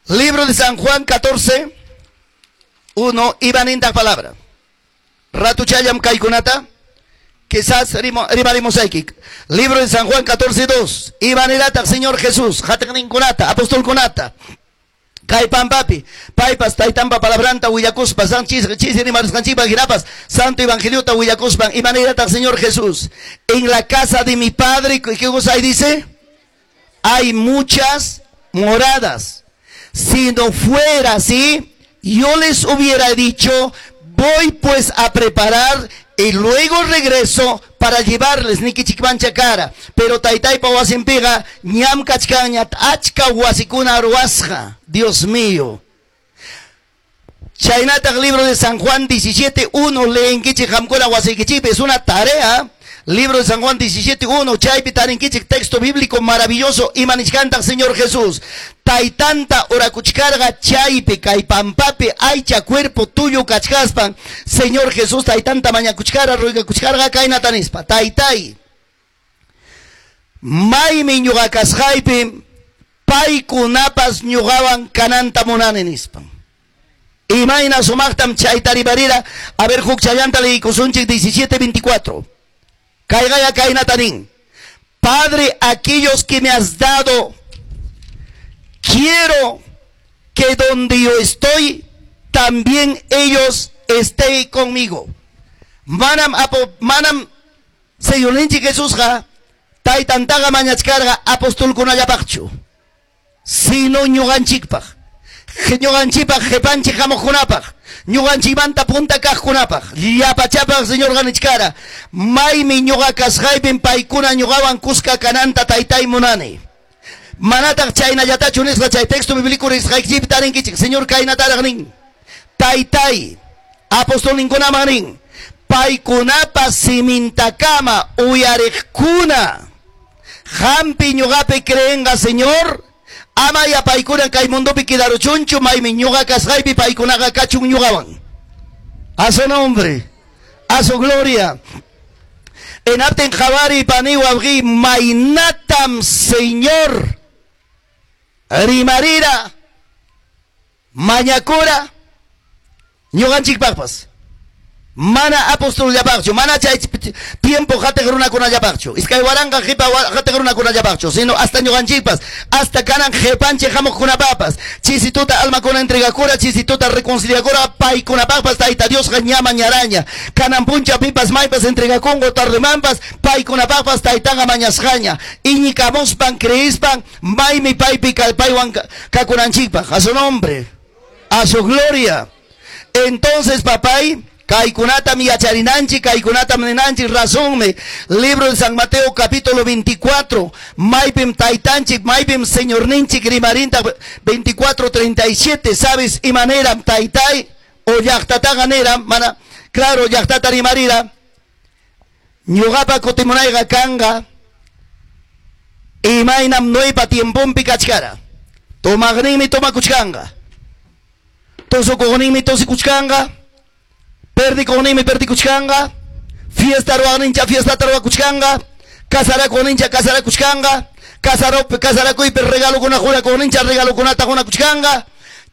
Libro de San Juan 14, 1, imanintaq palabra. Ratuchallam kaykunata, quizás rimarimusayki. Libro de San Juan 14, 2, imanirataq Señor Jesús, qatiqninkunata, apostolkunata. Kay pampapi, paypas taytanpa palabranta willakuspa, san chisi rimarisqanchikpa hinapas, Santo Evangeliota willakuspan, imanirataq Señor Jesús. En la casa de mi Padre, ¿qué cosa ahí dice? Hay muchas moradas. Si no fuera así, yo les hubiera dicho, voy pues a preparar y luego regreso para llevarles nikichikmancha kara. Pero taytaypa wasinpiqa ñam kachkanña achka wasikuna ruwasqa. Dios mío. Chaynataq libro de San Juan 17, 1, leenkichik qamkuna wasiykichikpi, es una tarea. Libro de San Juan 17, 1, chaypi tarinkichik texto bíblico maravilloso, imanichkantaq Señor Jesús. Taytanta orakuchkarqa chaypi kay pampapi aycha cuerpo tuyo kachkaspan, Señor Jesús taytanta mañakuchkara ruegakuchkarqa kaynata nispa. Taytay, maymi ñuqa kasqaypi paykunapas ñuqawan kananta munani nispan. Imayna sumaqtam chayta rimarira. A ver, huk chayanta leykusunchik 17, 24. Kayqaya kaynata nin. Padre, aquellos que me has dado, quiero que donde yo estoy, también ellos estén conmigo. Manam apo, manam Señorninchik Jesusqa taytantaqa mañachkarqa apostolkunallapaqchu, sino ñuqanchikpaq. Ñuqanchikpaq qhipanchik hamuqkunapaq, ñuqanchikmanta punta kaqkunapaq, llapachapaq Señor ganichkara, maymi ñuqa kasqaypim paykuna ñuqawan kuska kananta taytay munani. Manataq chaynallatachu nisqa chay texto bíblico risqaykichikpi tarinkichik, Señor kaynataraq nin. Taytay, apostolninkunaman nin, paykunapa simintakama uyariqkuna, qampi ñuqapi creenqa Señor, ama ya paykuna kay mundopi quedaruchunchu, maymi ñuqa kasqaypi paykunaqa kachun ñuqawan. A su nombre, a su gloria. Enaptin qhawari pani wawqi maynatam Señor rimarira mañakura ñuqanchikpaqpas. Mana apostolllapaqchu, mana chay tiempo qatiq runakunallapaqchu, iskay waranqa qipa qatiq runakunallapaqchu, sino hasta ñuqanchikpas, hasta kanan qipanchik hamuqkunapapas, chisituta almakuna entregakura, chisituta reconciliakura, paykunapaqpas Tayta Diosqa ña mañaraña, kanan puncha pipas maypas entregakunqa tardemanpas, paykunapaqpas taytanqa mañasqaña, iñikamuspan creispan, maymi paypi paywan kakunanchikpaq, a su nombre, a su gloria. Entonces, papay, kaykunatam yacharinanchik, kaykunatam ninanchik, razonmi. Libro de San Mateo capítulo 24, maypim taytanchik, maypim señorninchik rimarinta 24, 37, ¿sabes? Imaneram taytay o llaqtataqa niram, mana, claro, llaqtata rimarira, ñuqapa kutimunayqa kanqa, imaynam Noepa tiempompi kachkara, tomaqninmi tomakuchkanqa, tusukuqninmi tusikuchkanqa, perdikuqninmi perdikuchkanqa, fiesta ruwaqnincha fiestata ruwakuchkanqa, casarakuqnincha casarakuchkanqa, casarakuypi regalokuna qunakuqnincha regalokunata qunakuchkanqa,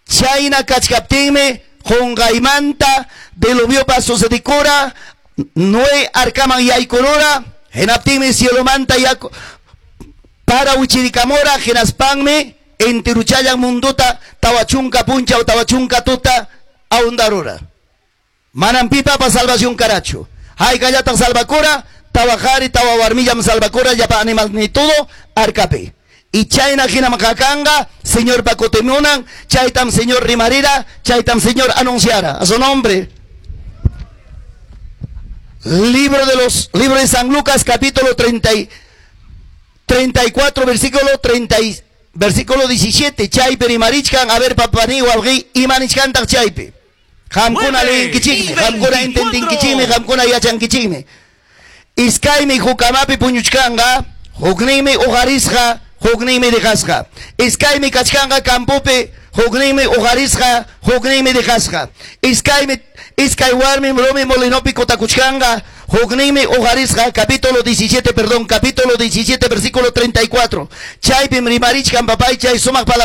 chayna kachkaptinmi qunqaymanta diluviopa sucedikura, Noé arkaman yaykurura, hinaptinmi cielomanta yaku para wichirikamura, hinaspanmi enteruchallan munduta tawachunka punchaw tawachunka tuta ahundarura. Manam pipapa salvación karachu. Haykallataq salvakura, tawa qhari, tawa warmillam salvakura, llapa animal ni todo, arkapi. Y chayna hinam kakanqa, Señor kutimunan, chaytam Señor rimarira, chaytam Señor anunciara. A su nombre. Libro de los, libro de San Lucas, capítulo 34, versículo 30 y, versículo 17, chaypi rimarichkan, a ver papani wawqi, imanichkantaq chaypi. Qamkuna Nueve leyinkichikmi, y qamkuna 24. entendinkichikmi, qamkuna yachankichikmi. Iskaymi huk kamapi puñuchkanqa, hukninmi uqarisqa, hukninmi dejasqa. Iskaymi kachkanqa campopi, hukninmi uqarisqa, hukninmi dejasqa. Iskaymi, iskay warmim rumi molinopi kutakuchkanqa, hukninmi uqarisqa, capítulo 17, perdón, capítulo 17, versículo 34. Chaypim rimarichkan papay chay sumaq palabra.